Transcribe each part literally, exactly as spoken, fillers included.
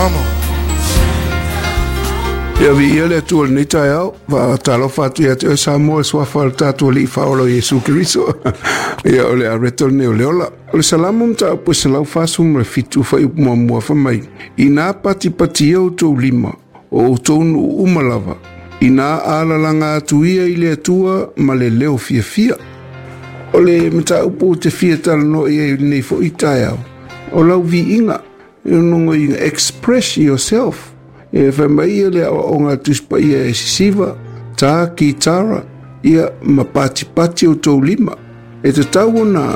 Come on. Ia viia le Atua i lenei taeao, faatalofa atu ia te oe Samoa e suafa o le tatou Alii Faaola o Iesu Keriso. Ia o le areto lenei o le ola. O le Salamo mataupu e selau fasefulu ma le fitu fuaiupu muamua fai mai, Inā patipatia outou lima, o outou nuu uma lava, inā alalaga atu ia i le Atua ma le leo fiafia. O le mataupu ou te fia talanoa i ai i lenei foi taeao, o lau viiga, e logoina, express yourself. E fai mai ia le aoaoga a le Tusi Paia e sisiva, tā kitara, ia ma patipati outou lima. E tatau ona,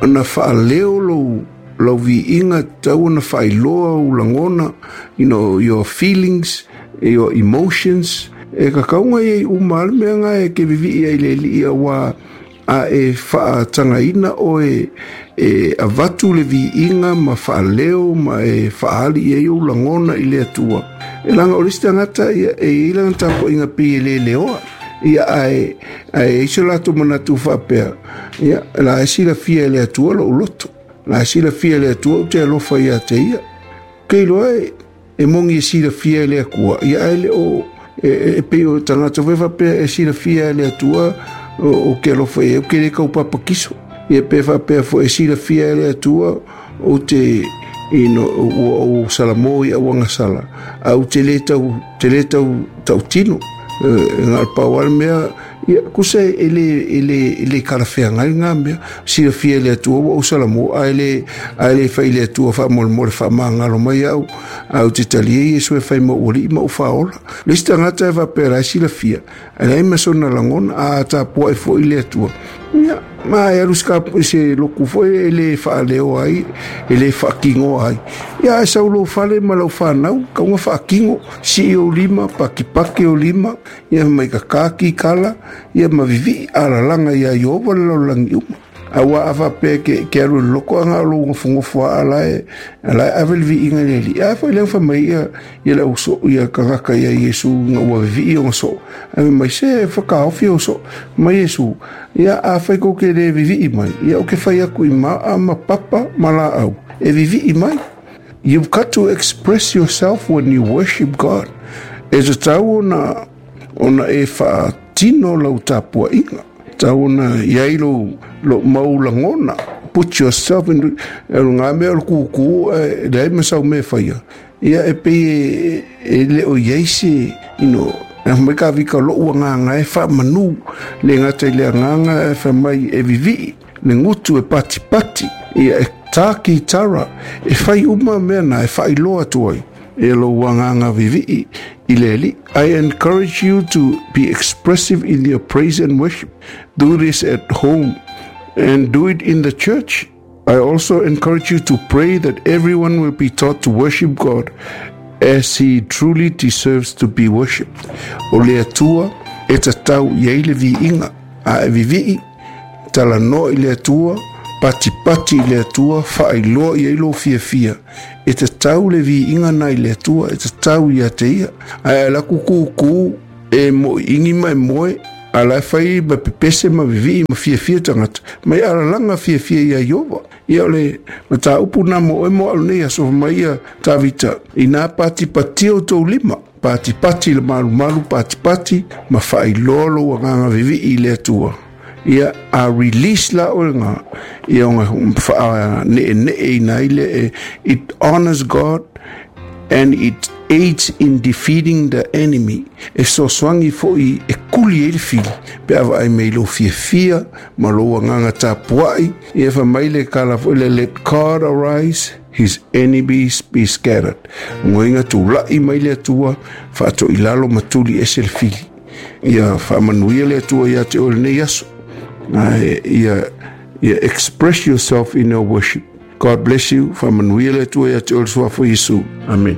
ona faaleo lou, lau viiga, tatau ona faailoa ou lagona, you know, your feelings, your emotions. E kakauga iai uma lava le mea na e ke vivii ai le Alii auā a e faatagaina oe e avatu le viiga ma faaleo ma e faaali i ai ou lagona i le Atua. E leaga o le isi tagata ia e i ai lana tapuaiga pei e le leoa. Ia ae ae i ai so latou manatu faapea, ia la e silafia e le Atua lou loto. La e silafia e le Atua ou te alofa ia te ia. Ke iloa e e moni e silafia e le Atua, ia ae le o e, e pei o tagata foi faapea e silafia e le Atua o, o ke alofa i ai, ou ke le kaupapa-kiso. Ia pe faapea foi e silafia e le Atua ou te you know, ua ou salamo i auagasala, a ou te le tau, te le tau tautino. E na o le pau lava le mea, ia, kusa e le, e le, e le kalafeagai lena mea. Silafia e le Atua ua ou salamo, ae le, ae le fai i le Atua faamolemole faamagalo mai au, a ou te talia Iesu e fai ma ou alii ma ou faaola. Le isi tagata e faapea la e silafia, ae leai ma sona lagona, a tapuai foi le Atua. Ia, ma e alu se loku foi e le faaleo ai, e le faakinoa ai. Ia, ae sau lou fale ma lau whanau, kaunga faakino, sii ou lima, pakipaki ou lima, ia mai ka kikala, ia ma vivii alalaga ia Ieova le lalolagi uma. Auā a faapea ke, ke alu i le loko aga o lou gofogofoa a la e, a la e ave le viiga i le Alii. A foi lea ua fai mai ia, ia le au soo, ia tagata ia Iesu ina ua vivii ona soo. Ae fai mai, se whakaofi o soo, mai Iesu, ia a fai kou ke le vivii mai, ia o ke fai aku i maa ma papa ma laau, e vivii mai. You've got to express yourself when you worship God. E tatau ona, ona e faatino lau tapuaiga. Tatau ona i ai lou, lou mau lagona. Put yourself in, e o ngā mea o le kūkū, e leai ma sau mea e faia. Ia e pei e, e le o i ai se, you know, e mai ka vika lou agaga e faamanu, le gata i le agaga e fai mai e vivii, le gutu e patipati, ia e tā kitara, e fai uma mea na e faailoa atu ai e lou agaga vivii i le Alii. I encourage you to be expressive in your praise and worship. Do this at home and do it in the church. I also encourage you to pray that everyone will be taught to worship God as he truly deserves to be worshipped. O le Atua e tatau i ai le viiga, a e vivii, talanoa i le Atua, patipati i le Atua, faailoa i ai lou fiafia. E tatau le viiga na i le Atua, e tatau ia te ia. Ae a laku kūkū e moiigi ma e moe, a la e fai ma pepese ma vivii ma fiafia tagata, mai alalaga fiafia ia Ieova. Ia o le mataupu na mo oe mo au nei aso fai mai ia Tavita, inā patipatia outou lima, patipati le malumalu, patipati ma faailoa lou agaga vivii i le Atua. Ia a release la oe nga, ia ona faaneenee ina ai le, it honors God and it aids in defeating the enemy. E fesoasoani foi e kuli ai le fili, pe a vaai mai lou fiafia ma lou agaga tapuai. Ia fai mai le kala foi le, let God arise, his enemies be scattered. Ngoinga tulai mai le Atua, faatoilalo ma tuli ese le fili. Ia faamanuia le Atua ia te oe lenei aso. Ae ia, ia express yourself in your worship. God bless you. Faamanuia le Atua ia te oe i le suafa o Iesu. Amen.